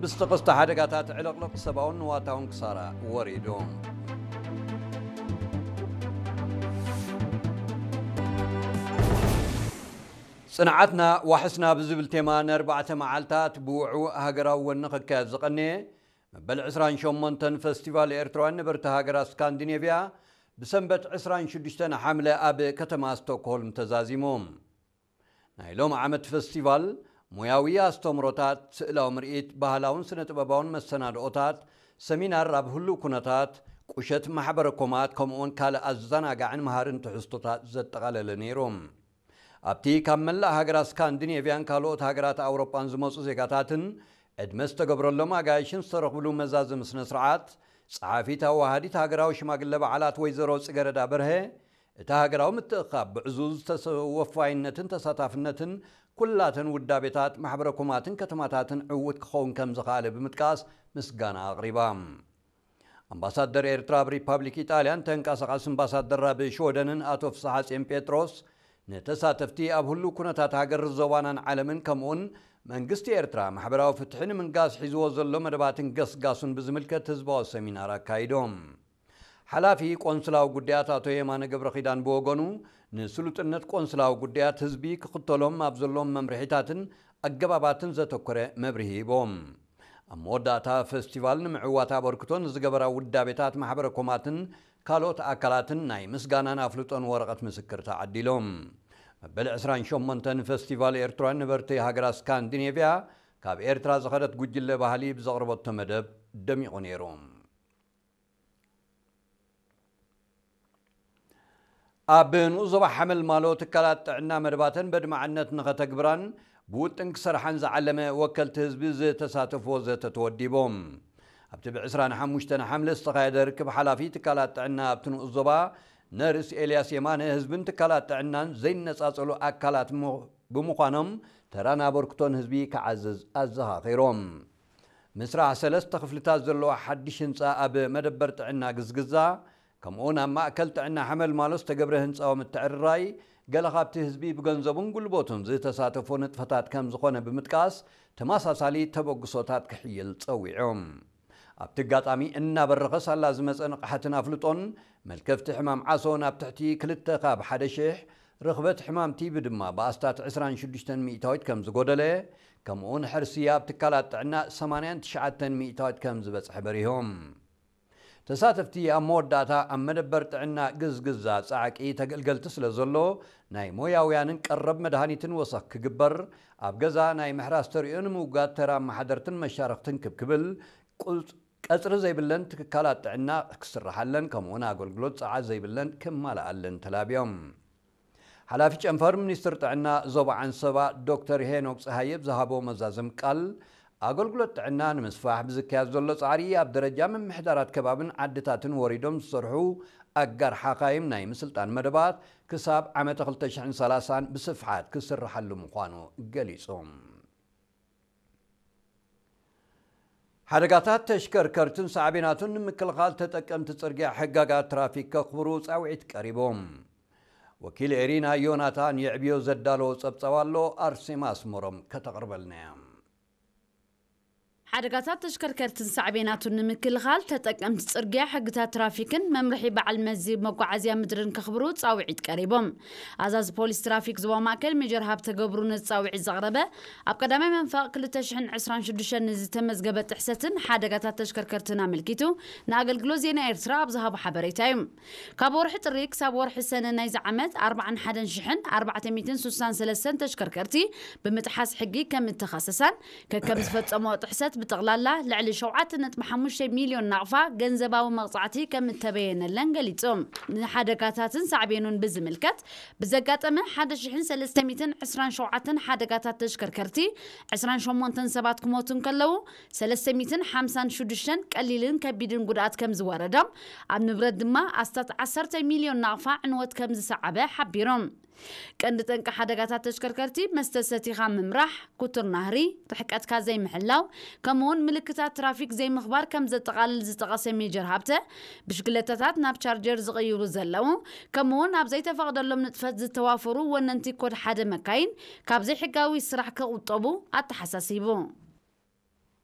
ብዝተኸስተ ሓደጋታት ዕልቕልቕ ሰብኣውን ንዋታውን ክሳራ ወሪዱ። ጽንዓትና ዋሕስና ብዝብል ቴማ ንኣርባዕተ መዓልታት ብውዕዉዕ ሃገራዊ ወኒ ክካየድ ዝቐነየ መበል ዕስራን ሸሞንተን ፈስቲቫል ኤርትራውያን ነበርቲ ሃገራት ስካንዲኔቭያ ብሰንበት ዕስራን ሽዱሽተን ሓምለ ኣብ ከተማ ስቶክሆልም ተዛዚሙ። ናይ ሎም ዓመት ፈስቲቫል ሞያዊ ኣስተምሮታት፣ ስእላዊ ምርኢት፣ ባህላውን ስነ ጥበባውን መሰናድኦታት፣ ሰሚናር ኣብ ህሉው ኩነታት፣ ቁሸት ማሕበረ ኮማት፣ ከምኡውን ካልእ ኣዘናጋዕን መሃርን ትሕዝቶታት ዘጠቓለለ ነይሩ። ኣብቲ ካብ መላእ ሃገራት ስካንዲኔቭያን ካልኦት ሃገራት ኣውሮጳን ዝመጹ ዜጋታትን ዕድመ ዝተገብረሎም ኣጋይሽን ዝተረኽብሉ መዛዘሚ ስነ ስርዓት፣ ጸሓፊት ኣዋሃዲት ሃገራዊ ሽማግለ በዓላት ወይዘሮ ጽገረዳ በርሀ፣ እቲ ሃገራዊ ምትእኽኻብ ብዕዙዝ ተሰ-፣ ወፋይነትን ተሳታፍነትን ኩላተን ውዳቤታት፣ ማሕበረ ኮማትን ከተማታትን ዕዉት ክኸውን ከም ዝኸኣለ ብምጥቃስ ምስጋና ኣቕሪባ። ኣምባሳደር ኤርትራ ኣብ ሪፓብሊክ ኢጣልያን ተንቀሳቓሲ ኣምባሳደር ኣብ ሽወደንን ኣቶ ፍስሓጽዮን ጴጥሮስ፣ ንተሳተፍቲ ኣብ ህሉው ኩነታት ሃገር ዞባናን ዓለምን ከምኡውን መንግስቲ ኤርትራ ማሕበራዊ ፍትሒ ንምንጋስ ሒዝዎ ዘሎ መደባትን ገስጋሱን ብዝምልከት ህዝባዊ ሰሚናር ኣካይዶም። ሓላፊ ቆንስላዊ ጉዳያት ኣቶ የማነ ገብረ ኪዳን ብወገኑ፣ ንስሉጥነት ቆንስላዊ ጉዳያት ህዝቢ ክኽተሎም ኣብ ዘሎም መምርሒታትን ኣገባባትን ዘተኮረ መብርሂ ሂቦም። ኣብ መወዳእታ፣ ፈስቲቫል ንምዕዋት ኣበርክቶ ንዝገበራ ውዳቤታት ማሕበረ ኮማትን ካልኦት ኣካላትን ናይ ምስጋናን ኣፍልጦን ወረቐት ምስክር ተዓዲሎም። መበል ዕስራን ሸሞንተን ፈስቲቫል ኤርትራውያን ነበርቲ ሃገራት ስካንዲኔቭያ ካብ ኤርትራ ዝኸደት ጉጅለ ባህሊ ብዘቕረበቶ መደብ ደሚቑ ነይሩ። ኣብ ንኡስ ዞባ ሓመልማሎ ትካላት ጥዕና መደባተን በድማዕነት ንኸተግብራን ብውጥን ክሰርሓን ዝዓለመ ወከልቲ ህዝቢ ዝተሳተፍዎ ዘተ ተወዲቦም። ኣብቲ ብ ዕስራን ሓሙሽተን ሓምለ ዝተኻየደ ርክብ፣ ሓላፊ ትካላት ጥዕና ኣብቲ ንኡስ ዞባ ነርስ ኤልያስ የማነ፣ ህዝብን ትካላት ጥዕናን ዘይነጻጸሉ ኣካላት ምዃኖም ተራን ኣበርክቶን ህዝቢ ክዓዝዝ ኣዘኻኺሮም። ምስራሕ ሰለስተ ክፍልታት ዘለዎ ሓድሽ ህንጻ ኣብ መደበር ጥዕና ግዝግዛ፣ ከምኡውን ኣብ ማእከል ጥዕና ሓመልማሎ ዝተገብረ ህንጻዊ ምትዕርራይ፣ ገለ ካብቲ ህዝቢ ብገንዘቡን ጉልበቱን ዝተሳተፎ ንጥፈታት ከም ዝኾነ ብምጥቃስ፣ ተመሳሳሊ ተበግሶታት ክሕይል ጸዊዑ። ኣብቲ ኣጋጣሚ፣ እናበረኸ ሳላ ዝመጸ ንቕሓትን ኣፍልጦን፣ መልከፍቲ ሕማም ዓሶ ናብ ትሕቲ ክልተ ካብ ሓደ ሽሕ፣ ርኽበት ሕማም ቲቢ ድማ ብኣስታት ዕስራን ሽዱሽተን ሚእታዊት ከም ዝጎደለ፣ ከምኡውን ሕርሲ ኣብ ትካላት ጥዕና ሰማንያን ትሽዓተን ሚእታዊት ከም ዝበጽሐ በሪሆም። ተሳተፍቲ ኣብ መወዳእታ፣ ኣብ መደበር ጥዕና ግዝግዛ ጻዕቂ ተገልገልቲ ስለ ዘሎ፣ ናይ ሞያውያንን ቀረብ መድሃኒትን ወሰኽ ክግበር፣ ኣብ ገዛ ናይ ምሕራስ ተርእዮ ንምውጋድ ተራ ኣመሓደርትን መሻርኽትን ክብ ክብል፣ ቁጽ-፣ ቀጽሪ ዘይብለን ትካላት ጥዕና ክስርሓለን፣ ከምኡውን ኣገልግሎት ጸዓት ዘይብለን ክማልኣለን ተላብዮም። ሓላፊ ጨንፈር ሚኒስትር ጥዕና ዞባ ዓንሰባ ዶክተር ሄኖክ ጸሃየ ብዝሃቦ መዛዘም ቃል፣ ኣገልግሎት ጥዕና ንምስፋሕ ብዝካየድ ዘሎ ጻዕሪ፣ ኣብ ደረጃ ምምሕዳራት ከባብን ዓድታትን ወሪዶም ዝሰርሑ ኣጋር ሓኻይም ናይ ምስልጣን መደባት ክሳብ ዓመተ ክልተ ሽሕን ሰላሳን ብስፍሓት ክስርሓሉ ምዃኑ ገሊጹ። ሓደጋታት ተሽከርከርትን ሳዕቤናቱን ንምክልኻል፣ ተጠቀምቲ ጽርግያ ሕጋጋት ትራፊክ ከኽብሩ ጻውዒት ቀሪቦም። ወኪል ኤሪና ዮናታን የዕብዮ ዘዳለዎ ጸብጻብ ኣሎ፣ ኣርሴማ ኣስመሮም ከተቕርበልና እያ። ሓደጋታት ተሽከርከርትን ሳዕቤናቱን ንምክልኻል፣ ተጠቀምቲ ጽርግያ ሕግታት ትራፊክን መምርሒ በዓል መዚ መጓዓዝያ ምድርን ከኽብሩ ጻውዒት ቀሪቦም። ኣዛዚ ፖሊስ ትራፊክ ዞባ ማእከል ሜጀር ሃብተ ገብሩ ነዚ ጻውዒት ዘቕረበ፣ ኣብ ቀዳማይ መንፈቕ ክልተ ሽሕን ዕስራን ሽዱሽተን ንዝተመዝገበ ጥሕሰትን ሓደጋታት ተሽከርከርትን ኣመልኪቱ ንኣገልግሎት ዜና ኤርትራ ኣብ ዝሃቦ ሓበሬታ እዩ። ካብ ወርሒ ጥሪ ክሳብ ወርሒ ሰነ ናይዚ ዓመት፣ ኣርባዓን ሓደን ሽሕን ኣርባዕተ ሚእትን ሱሳን ሰለስተን ተሽከርከርቲ ብምጥሓስ ሕጊ ከም እተኸሰሳን፣ ከከም ዝፈጸሞ ጥሕሰት ብጠቕላላ ልዕሊ ሸውዓተ ነጥቢ ሓሙሽተ ሚልዮን ናቕፋ ገንዘባዊ መቕጻዕቲ ከም እተበየነለን ገሊጹ። ንሓደጋታትን ሳዕቤኑን ብዝምልከት፣ ብዘጋጠመ ሓደ ሽሕን ሰለስተ ሚእትን ዕስራን ሸውዓተን ሓደጋታት ተሽከርከርቲ፣ ዕስራን ሸሞንተን ሰባት ክሞቱ እንከለዉ፣ ሰለስተ ሚእትን ሓምሳን ሽዱሽተን ቀሊልን ከቢድን ጉድኣት ከም ዝወረዶም፣ ኣብ ንብረት ድማ ኣስታት ዓሰርተ ሚልዮን ናቕፋ ዕንወት ከም ዝሰዓበ ሓቢሮም። ቀንዲ ጠንቂ ሓደጋታት ተሽከርከርቲ፣ መስተ ሰቲኻ ምምራሕ፣ ክቱር ናህሪ፣ ርሕቀትካ ዘይምሕላው፣ ከምኡውን ምልክታት ትራፊክ ዘይምኽባር ከም ዘጠቓልል ዝጠቐሰ ሜጀር ሃብተ፣ ብሽክለታታት ናብ ቻርጀር ዝቕይሩ ዘለዉ፣ ከምኡውን ኣብ ዘይተፈቕደሎም ንጥፈት ዝተዋፈሩ ወነንቲ ኮድ ሓደ መካይን ካብ ዘይሕጋዊ ስራሕ ክቑጠቡ ኣተሓሳሲቡ።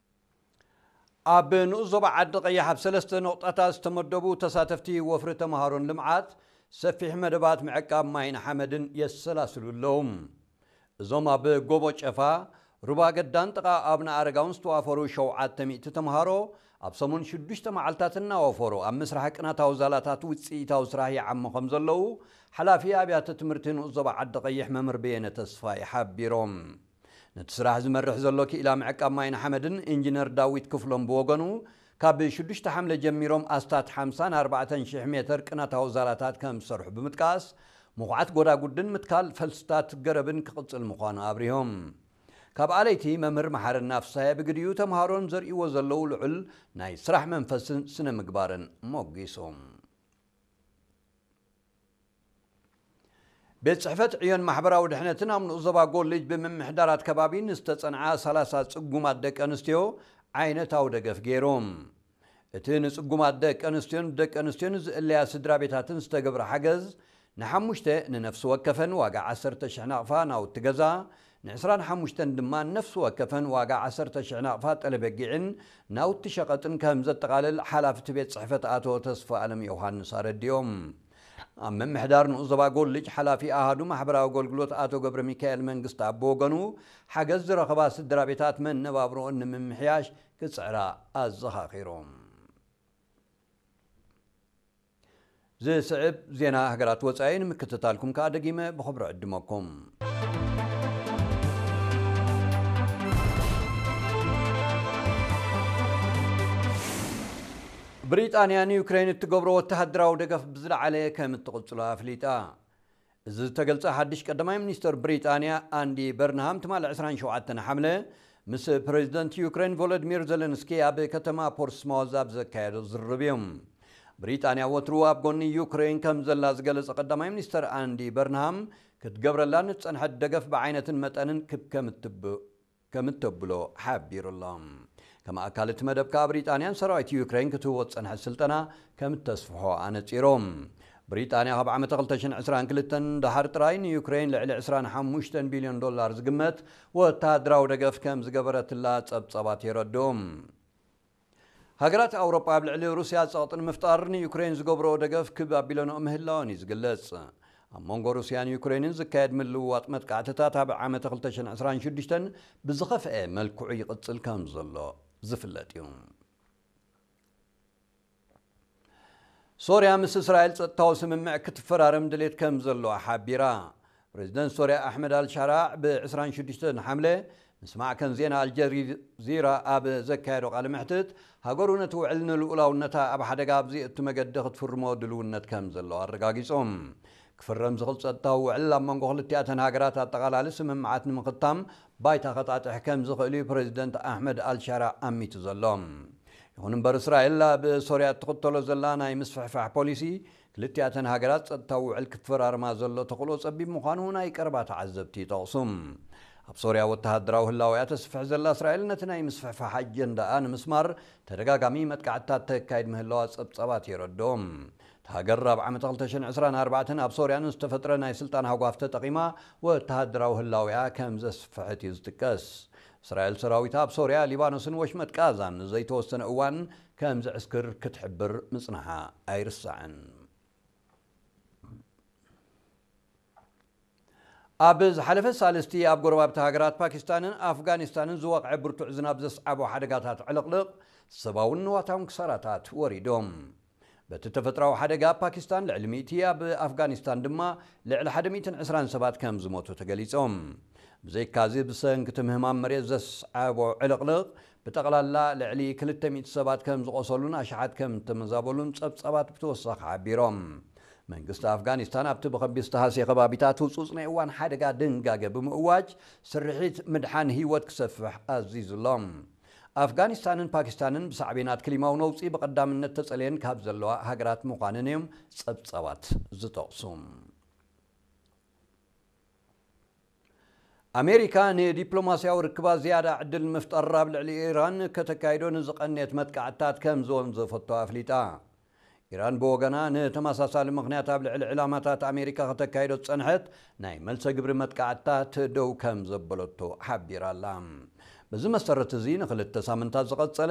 ኣብ ንኡስ ዞባ ዓዲ ቀይሕ ኣብ ሰለስተ ነቑጣታት ዝተመደቡ ተሳተፍቲ ወፍሪ ተምሃሮን ልምዓት ሰፊሕ መደባት ምዕቃብ ማይን ሓመድን የሰላስሉ ኣለዉ። እዞም ኣብ ጎቦ ጨፋ፣ ሩባ ገዳን ጥቓ ኣብነ ኣረጋውን ዝተዋፈሩ ሸውዓተ ሚእቲ ተምሃሮ ኣብ ሰሙን ሽዱሽተ መዓልታት እናወፈሩ ኣብ ምስራሕ ቅናታዊ ዛላታት ውፅኢታዊ ስራሕ ይዓሙ ከም ዘለዉ ሓላፊ ኣብያተ ትምህርቲ ንኡስ ዞባ ዓዲ ቀይሕ መምህር በየነ ተስፋይ ሓቢሮም። ነቲ ስራሕ ዝመርሕ ዘሎ ክኢላ ምዕቃብ ማይን ሓመድን ኢንጂነር ዳዊት ክፍሎም ብወገኑ፣ ካብ ሽዱሽተ ሓምለ ጀሚሮም ኣስታት ሓምሳን ኣርባዕተን ሽሕ ሜትር ቅናታዊ ዛላታት ከም ዝሰርሑ ብምጥቃስ፣ ምኹዓት ጎዳጉድን ምትካል ፈልስታት ገረብን ክቕጽል ምዃኑ ኣብሪሆም። ካብ ኣለይቲ መምህር መሓረና ፍሳየ ብግዲኡ ተምሃሮን ዘርእይዎ ዘለዉ ልዑል ናይ ስራሕ መንፈስን ስነ ምግባርን ሞጊሶም። ቤት ጽሕፈት ዕዮን ማሕበራዊ ድሕነትን ኣብ ንኡስ ዞባ ጎልጅ ብምምሕዳራት ከባቢ ንዝተጸንዓ ሰላሳ ጽጉማት ደቂ ኣንስትዮ ዓይነታዊ ደገፍ ገይሩ። እቲ ንጽጉማት ደቂ ኣንስትዮን ደቂ ኣንስትዮን ዝእለያ ስድራ ቤታትን ዝተገብረ ሓገዝ ንሓሙሽተ ንነፍሲ ወከፈን ዋጋ ዓሰርተ ሽሕ ናቕፋ ናውቲ ገዛ፣ ንዕስራን ሓሙሽተን ድማ ንነፍሲ ወከፈን ዋጋ ዓሰርተ ሽሕ ናቕፋ ጠለበጊዕን ናውቲ ሸቐጥን ከም ዘጠቓልል ሓላፊ እቲ ቤት ጽሕፈት ኣቶ ተስፋ ኣለም ዮሃንስ ኣረዲኦም። ኣብ ምምሕዳር ንኡስ ዞባ ጎልጅ ሓላፊ ኣሃዱ ማሕበራዊ ኣገልግሎት ኣቶ ገብረ ሚካኤል መንግስቲ ኣብ ወገኑ፣ ሓገዝ ዝረኸባ ስድራ ቤታት መነባብሮኦን ንምምሕያሽ ክጽዕራ ኣዘኻኺሮም። ዝስዕብ ዜና ሃገራት ወጻኢ ንምክትታልኩም ከኣ ደጊመ ብኽብሪ ዕድመኩም። ብሪጣንያ ንዩክሬን እትገብሮ ወተሃደራዊ ደገፍ ብዝለዓለ ከም እትቕጽሎ ኣፍሊጣ። እዚ ዝተገልጸ ሓድሽ ቀዳማይ ሚኒስተር ብሪጣንያ ኣንዲ በርንሃም ትማሊ ዕስራን ሸውዓተን ሓምለ ምስ ፕሬዚደንት ዩክሬን ቮሎዲሚር ዘለንስኪ ኣብ ከተማ ፖርትስማውዝ ኣብ ዘካየዶ ዝርርብ እዩ። ብሪጣንያ ወትሩ ኣብ ጎኒ ዩክሬን ከም ዘላ ዝገለጸ ቀዳማይ ሚኒስተር ኣንዲ በርንሃም፣ ክትገብረላ ንጸንሐት ደገፍ ብዓይነትን መጠንን ክብ ከም እትብ-፣ ከም እተብሎ ሓቢሩ ኣሎ። ከም ኣካል እቲ መደብ ከኣ ብሪጣንያን ሰራዊት ዩክሬን ክትህቦ ዝጸንሐት ስልጠና ከም እተስፍሖ ኣነጺሮም። ብሪጣንያ ካብ ዓመተ ክልተ ሽሕን ዕስራን ክልተን ደሓር ጥራይ ንዩክሬን ልዕሊ ዕስራን ሓሙሽተን ቢልዮን ዶላር ዝግመት ወተሃደራዊ ደገፍ ከም ዝገበረትላ ጸብጻባት የረድኡ። ሃገራት ኣውሮጳ ኣብ ልዕሊ ሩስያ ጸቕጢ ንምፍጣር ንዩክሬን ዝገብርኦ ደገፍ ክብ ኣቢለንኦ ምህላወን እዩ ዝግለጽ። ኣብ መንጎ ሩስያን ዩክሬንን ዝካየድ ምልውዋጥ መጥቃዕትታት ኣብ ዓመተ ክልተ ሽሕን ዕስራን ሽዱሽተን ብዝኸፍአ መልክዑ ይቕጽል ከም ዘሎ ዝፍለጥ እዩ። ሶርያ ምስ እስራኤል ጸጥታዊ ስምምዕ ክትፈራረም ድሌት ከም ዘለዋ ሓቢራ። ፕሬዚደንት ሶርያ ኣሕመድ ኣልሻራዕ ብ ዕስራን ሽዱሽተን ሓምለ ምስ ማዕከን ዜና ኣልጀዚራ ኣብ ዘካየዶ ቃለ መሕትት፣ ሃገሩ ነቲ ውዕል ንልኡላውነታ ኣብ ሓደጋ ኣብ ዘየእቱ መገዲ ክትፍርሞ ድልውነት ከም ዘለዋ ኣረጋጊጾም። ክፍረም ዝኽእል ጸጥታዊ ውዕል ኣብ መንጎ ክልቲኣተን ሃገራት ኣጠቓላሊ ስምምዓት ንምኽታም ባይታ ከጣጥሕ ከም ዝኽእል እዩ ፕሬዚደንት ኣሕመድ ኣልሻራዕ ኣሚቱ ዘሎ። ይኹን እምበር፣ እስራኤል ኣብ ሶርያ እትኽተሎ ዘላ ናይ ምስፍሕፋሕ ፖሊሲ፣ ክልቲኣተን ሃገራት ጸጥታዊ ውዕል ክፈራርማ ዘሎ ተኽእሎ ጸቢብ ምዃኑ ናይ ቀረባ ተዓዘብቲ ይጠቕሱ። ኣብ ሶርያ ወተሃደራዊ ህላወያ ተስፍሕ ዘላ እስራኤል፣ ነቲ ናይ ምስፍሕፋሕ ኣጀንዳኣ ንምስማር ተደጋጋሚ መጥቃዕትታት ተካይድ ምህላዋ ጸብጻባት የረድኦም። እታ ሃገር ኣብ ዓመት ክልተ ሽሕን ዕስራን ኣርባዕተን ኣብ ሶርያ ንዝተፈጥረ ናይ ስልጣን ሃጓፍ ተጠቒማ ወተሃደራዊ ህላወያ ከም ዘስፍሐት እዩ ዝጥቀስ። እስራኤል ሰራዊታ ኣብ ሶርያ፣ ሊባኖስን ወሽመጥ ጋዛን ንዘይተወሰነ እዋን ከም ዘዕስክር ክትሕብር ምጽንሓ ኣይርሳዕን። ኣብ ዝሓለፈ ሳልስቲ ኣብ ጎረባብቲ ሃገራት ፓኪስታንን ኣፍጋኒስታንን ዝወቕዐ ብርቱዕ ዝናብ ዘስዓቦ ሓደጋታት ዕልቕልቕ ሰብኣውን ንዋታውን ክሳራታት ወሪዶም። በቲ ተፈጥራዊ ሓደጋ ኣብ ፓኪስታን ልዕሊ ሚእቲ፣ ኣብ ኣፍጋኒስታን ድማ ልዕሊ ሓደ ሚእትን ዕስራን ሰባት ከም ዝሞቱ ተገሊጾም። ብዘይካዚ ብሰንኪ እቲ ምህማም መሬት ዘስዓቦ ዕልቕልቕ ብጠቕላላ ልዕሊ ክልተ ሚእቲ ሰባት ከም ዝቖሰሉን ኣሽሓት ከም እተመዛበሉን ጸብጻባት ብተወሳኺ ሓቢሮም። መንግስቲ ኣፍጋኒስታን ኣብቲ ብኸቢድ ዝተሃስየ ከባቢታት ህጹጽ ናይ እዋን ሓደጋ ድንጋገ ብምእዋጅ ስርሒት ምድሓን ህይወት ክሰፍሕ ኣዚዙ ኣሎ። ኣፍጋኒስታንን ፓኪስታንን ብሳዕቤናት ክሊማዊ ነውጺ ብቐዳምነት ተጸልየን ካብ ዘለዋ ሃገራት ምዃነን እዮም ጸብጻባት ዝጠቕሱ። ኣሜሪካ ንዲፕሎማስያዊ ርክባት ዝያዳ ዕድል ንምፍጣር ኣብ ልዕሊ ኢራን ከተካይዶ ንዝቐንየት መጥቃዕትታት ከም ዝወንዘፈቶ ኣፍሊጣ። ኢራን ብወገና ንተመሳሳሊ ምኽንያት ኣብ ልዕሊ ዕላማታት ኣሜሪካ ከተካይዶ ዝጸንሐት ናይ መልሰ ግብሪ መጥቃዕትታት ደው ከም ዘበለቶ ሓቢራ ኣላ። በዚ መሰረት እዚ ንኽልተ ሳምንታት ዝቐጸለ